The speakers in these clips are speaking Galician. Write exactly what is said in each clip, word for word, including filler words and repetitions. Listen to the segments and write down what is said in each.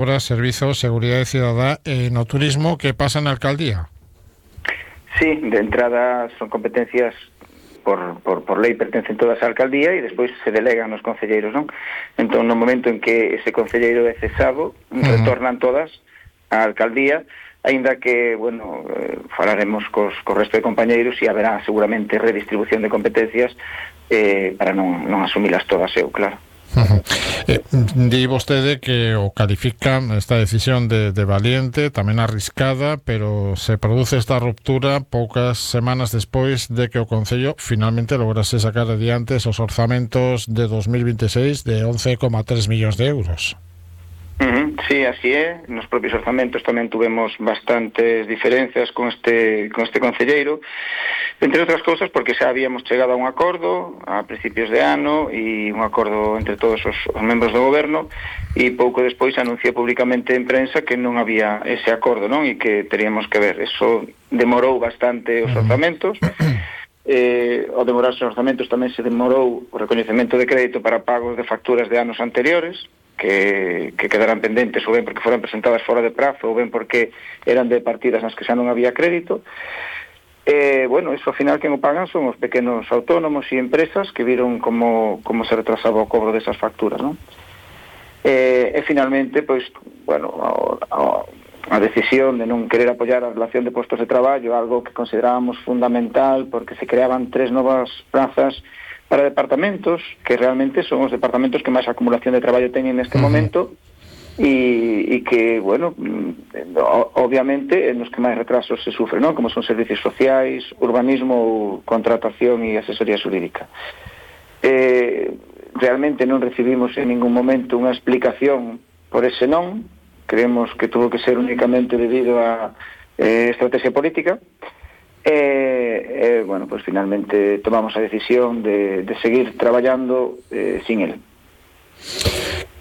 Obras, Servizos, Seguridade Cidadá e no turismo, que pasa na alcaldía? Sí, de entrada son competencias por, por, por lei pertencen todas á alcaldía e despois se delegan nos concelleiros, non? Entón, no momento en que ese concelleiro é cesado, uh-huh. retornan todas á alcaldía, aínda que, bueno, eh, falaremos cos, cos resto de compañeiros e haberá seguramente redistribución de competencias eh, para non, non asumilas todas eu, claro. Uh-huh. Eh, di vostede que o califica esta decisión de, de valiente, tamén arriscada, pero se produce esta ruptura poucas semanas despois de que o Concello finalmente lograse sacar adiante esos orzamentos de dos mil veintiséis de once coma tres millóns de euros. Uh-huh. Sí, así é. Nos propios orzamentos tamén tuvemos bastantes diferencias con este con este concelleiro, entre outras cousas porque xa habíamos chegado a un acordo a principios de ano e un acordo entre todos os, os membros do goberno, e pouco despois anunciou públicamente en prensa que non había ese acordo, non? E que teríamos que ver. Eso demorou bastante os orzamentos. Eh, ao demorarse os orzamentos tamén se demorou o recoñecemento de crédito para pagos de facturas de anos anteriores, que, que quedaran pendentes, ou ben porque foran presentadas fora de prazo, ou ben porque eran de partidas nas que xa non había crédito. Eh, bueno, eso ao final quen o pagan son os pequenos autónomos e empresas que viron como, como se retrasaba o cobro desas facturas, non? Eh, e finalmente, pois, bueno, a, a, a decisión de non querer apoiar a relación de postos de traballo, algo que considerábamos fundamental porque se creaban tres novas plazas para departamentos, que realmente son os departamentos que máis acumulación de traballo teñen neste uh-huh. momento, e, e que, bueno, obviamente, nos que máis retrasos se sufren, non? Como son servicios sociais, urbanismo, contratación e asesoría xurídica. Eh, realmente non recibimos en ningún momento unha explicación por ese non, creemos que tuvo que ser únicamente debido a eh, estrategia política. E, eh, bueno, pues finalmente tomamos a decisión de, de seguir traballando eh, sin el.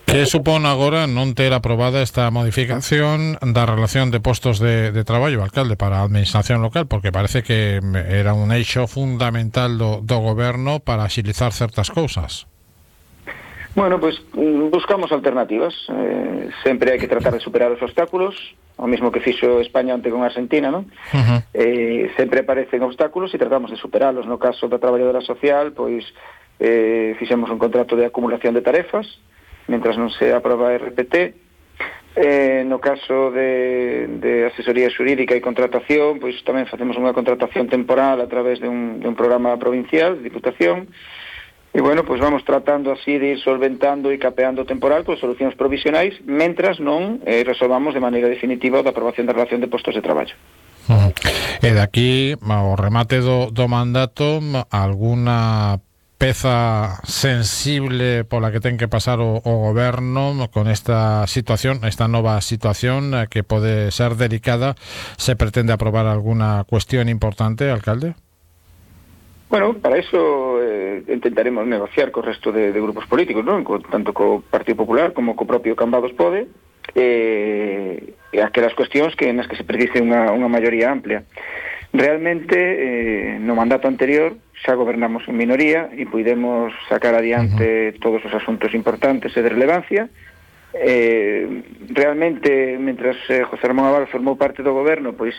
Que supón agora non ter aprobada esta modificación da relación de postos de, de traballo, alcalde, para a administración local? Porque parece que era un eixo fundamental do, do goberno para axilizar certas cousas. Bueno, pues buscamos alternativas. Eh, sempre hai que tratar de superar os obstáculos, o mismo que fixo España ante con Argentina, non? Uh-huh. Eh, sempre aparecen obstáculos e tratamos de superalos. No caso da traballadora social, pois eh, fixemos un contrato de acumulación de tarefas mentras non se aproba a R P T. Eh, no caso de, de asesoría xurídica e contratación, pois tamén facemos unha contratación temporal a través de un, de un programa provincial de Diputación. E, bueno, pois vamos tratando así de ir solventando e capeando temporal por solucións provisionais, mentras non eh, resolvamos de maneira definitiva a aprobación da relación de postos de traballo. Uh-huh. E daqui, ao remate do, do mandato, alguna peza sensible pola que ten que pasar o, o goberno con esta situación, esta nova situación que pode ser delicada, se pretende aprobar alguna cuestión importante, alcalde? Bueno, para eso eh, intentaremos negociar co resto de, de grupos políticos, non? Co, tanto co Partido Popular como co propio Cambados Pode, eh, e aquelas cuestións que nas que se precise unha, unha maioría amplia. Realmente, eh, no mandato anterior xa gobernamos en minoría e puidemos sacar adiante uh-huh. todos os asuntos importantes e de relevancia. Eh, realmente, mentras eh, José Ramón Abal formou parte do goberno, pois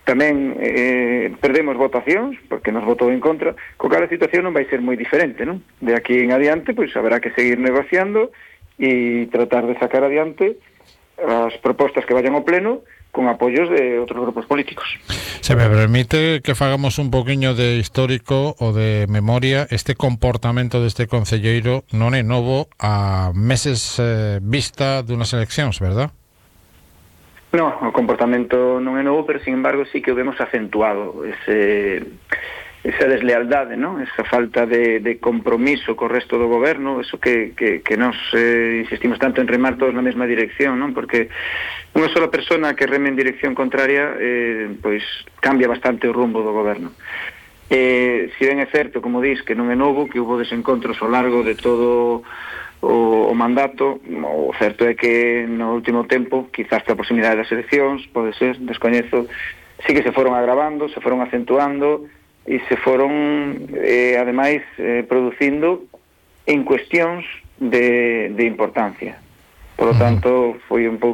tamén eh, perdemos votacións, porque nos votou en contra, co cal a situación non vai ser moi diferente, non? De aquí en adiante, pois haberá que seguir negociando e tratar de sacar adiante as propostas que vayan ao pleno con apoios de outros grupos políticos. Se me permite que fagamos un poquinho de histórico ou de memoria, este comportamento deste concelleiro non é novo a meses eh, vista dunhas eleccións, verdad? No, o comportamento non é novo, pero, sin embargo, sí que o vemos acentuado, ese, esa deslealdade, ¿no? Esa falta de, de compromiso co resto do goberno, eso que, que, que nos eh, insistimos tanto en remar todos na mesma dirección, ¿no? Porque unha sola persona que reme en dirección contraria, eh, pois cambia bastante o rumbo do goberno. Eh, si ben é certo, como dis, que non é novo, que houve desencontros ao largo de todo o, o mandato, o certo é que no último tempo, quizás pola proximidade das eleccións, pode ser, descoñezo, sí que se foron agravando, se foron acentuando e se foron, eh, ademais, eh, producindo en cuestións de, de importancia. Por lo tanto, foi un pouco